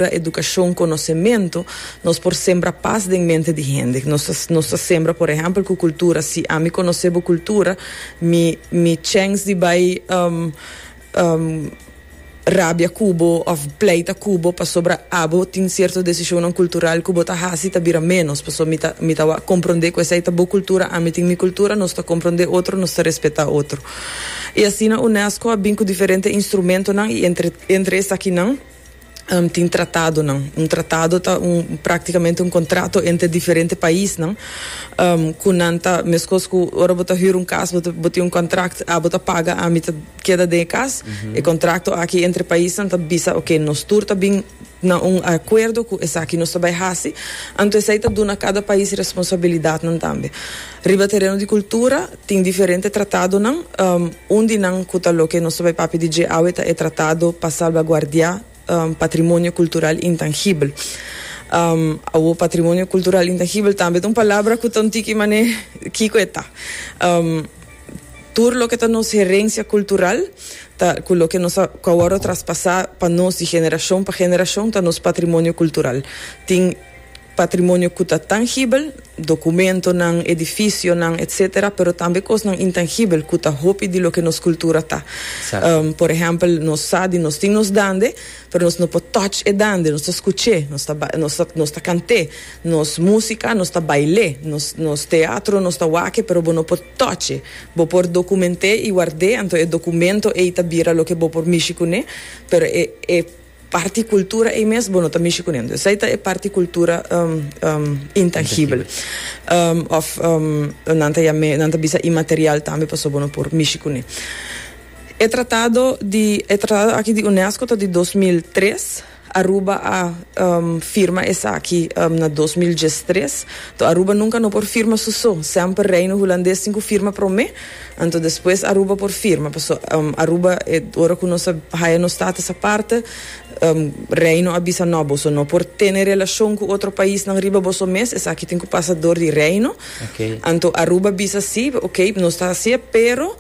Edukashon, konosementu, nos por sembra pas den mente di hende. Nos ta nos ta sembra, por ehèmpel, ku kultura. Si ami konosé bo kultura, mi mi chèns di bai rabia ku bo òf pleita ku bo pasobra abo tin sierto desishonnan kultural ku bo ta hasi ta bira ménos. Pasobra mi ta mi ta wak komprondé ku esei ta bo kultura, ami tin mi kultura, nos ta komprondé otro, nos ta respetá otro. I asina unesco a bin ku diferente instrumentonan i entre entre esakinan, Tin tratadonan. Un tratado ta un praktikamente un kontrato entre diferente paisnan ku nan ta meskos ku ora bo ta hür un kas bo ta bo tin un kontrakt abo ta paga ami ta keda den e kas. E kontrakto aki entre paisnan ta bisa oke nos tur ta bin na un akuerdo ku esaki nos ta bai hasi. Anto esei ta duna kada pais responsabilidatnan tambe. Riba tereno di kultura tin diferente tratadonan. Un di nan ku ta loke nos ta bai papia di dje awe ta e Tratado pa Salbaguardiá Patrimonio Kultural Intangibel. Awor patrimonio kultural intangibel tambe ta un palabra ku ta un tiki manera kiko e ta. Tur loke ta nos herensia kultural ta ku loke nos a ku a wòrdu traspasá pa nos di generashon pa generashon ta nos patrimonio kultural. Tin. Patrimonio ku ta tangibel, dokumentonan, edifisionan, etcetera, pero tambe kosnan intangibel ku ta hopi di loke nos kultura ta. Por ehèmpel, nos sa di nos tin nos dande, pero nos no por touch e dande, nos ta skuch'é, nos ta nos ta nos ta kant'é, nos músika nos ta bail'é, nos nos teatro nos ta wak-e, pero bo no por touch e. Bo por dokument'é i ward'é, anto e dokumento ei ta bira loke bo por mishi kuné, pero e e. Parti cultura ei mes bo no ta mishi cune. Esei ta e parti cultura intangibel. Of nan ta yam'e, nan ta bisa inmaterial tambe pasobra bo no por mishi cune. E tratado di, e tratado aki di UNESCO ta di 2003. Aruba a firma esaki na 2013. To Aruba nunca no por firma su so. Semper Reino Hulandes tin cu firma prome. Anto despues Aruba por firma, paso Aruba e ora cu nos a haya nos status aparte, Reino a bisa no, boso no por tene relacion cu otro paisnan riba boso mes, esaki tin cu pasa door di Reino. Anto Aruba bisa si, ok, nos ta haci'e, pero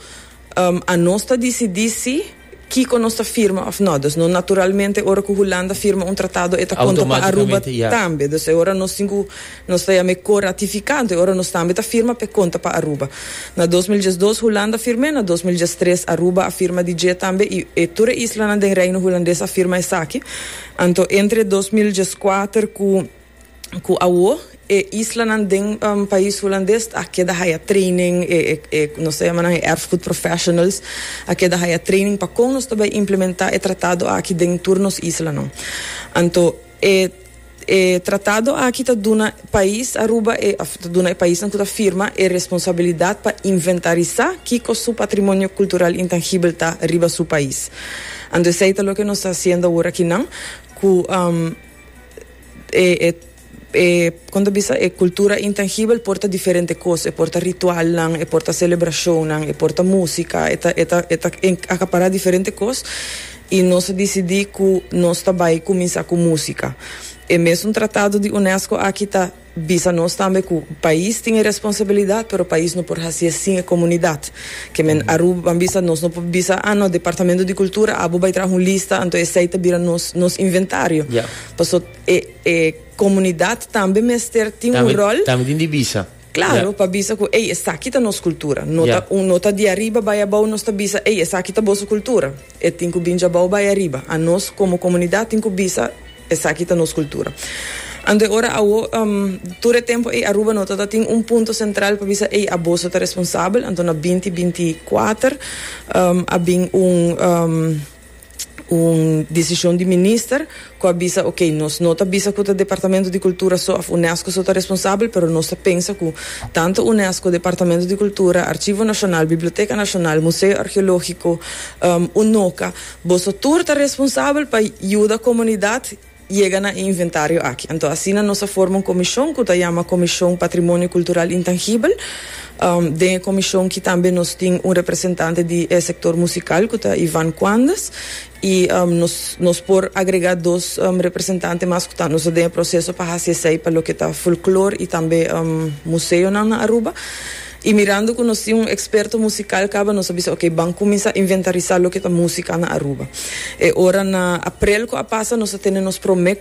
anos ta dicidi si Kiko nos ta firma of no. Dus no naturalmente ora ku Hulanda firma un tratado e ta konta pa Aruba tambe. Dus e ora nos tin ku nos ta yama e ko-ratifiká, anto e ora nos tambe ta firma p'e konta pa Aruba. Na 2012 Hulanda firm'é, na 2013 Aruba a firma di dje tambe i e tur e islanan den Reino Hulandes a firma esaki. Anto entre 2014 ku. Ku awo e islanan den pais Hulandes a keda haya training, e e nos ta yama nan e erfgoed professionals a keda haya training pa kon nos ta bai implementa e tratado aki den tur nos islanan. Anto e e tratado aki ta duna pais Aruba e of ta duna e paisnan ku ta firma e responsabilidat pa inventarisa kiko su patrimonio kultural intangibel ta riba su pais. Anto esei ta loke nos ta hasiendo awor akinan ku E e kon ta bisa e kultura intangibel por ta diferente kos, e por ta ritualnan, e por ta selebrashonnan, e por ta músika, e ta e ta e ta akapará diferente kos i nos a disidí ku nos ta bai kuminsá ku músika. E mesun tratado di unesco aki ta bisa nos tambe ku pais tin e responsabilidat pero pais no por hasié sin e komunidat. Ke men Aruba ban bisa nos no por bisa ah no departamento di kultura abo bai traha un lista anto esei ta bira nos nos inventario. Paso e e komunidat tambe mester tin un ròl. Tambe tin di bisa. Klaro, pa bisa ku ey esaki ta nos kultura. No ta un no ta di ariba bai abou nos ta bisa ey esaki ta boso kultura. E tin ku bin djabou bai ariba. Anos komo komunidat tin ku bisa esaki ta nos kultura. Anto e ora awo tur e tempu ey Aruba no ta tin un punto sentral pa bisa ey aboso ta responsabel. Anto na 2024 a bin un. Un desishon di minister ku a bisa ok nos no ta bisa ku ta departamento di kultura so òf unesco so ta responsabel pero nos ta pensa ku tantu unesco, departamento di kultura, archivo nashonal, biblioteka nashonal, museo arkeológiko, unoka boso tur ta responsabel pa yuda komunidat yega na e inventario aki. Anto asina nos a forma un komishon ku ta yama Komishon Patrimonio Kultural Intangibel. Den e komishon ki tambe nos tin un representante di e sektor musikal ku ta Ivan Quandes i nos nos por agrega dos representante mas ku ta nos ta den e proseso pa hasi esei pa loke ta folklor i tambe museonan na Aruba. Y mirando cu nos tin un experto musical caba, nos a bisa: "Ok, ban cuminsa inventarisa loke ta musica na Aruba." E ora na april cu a pasa, nos a tene nos prome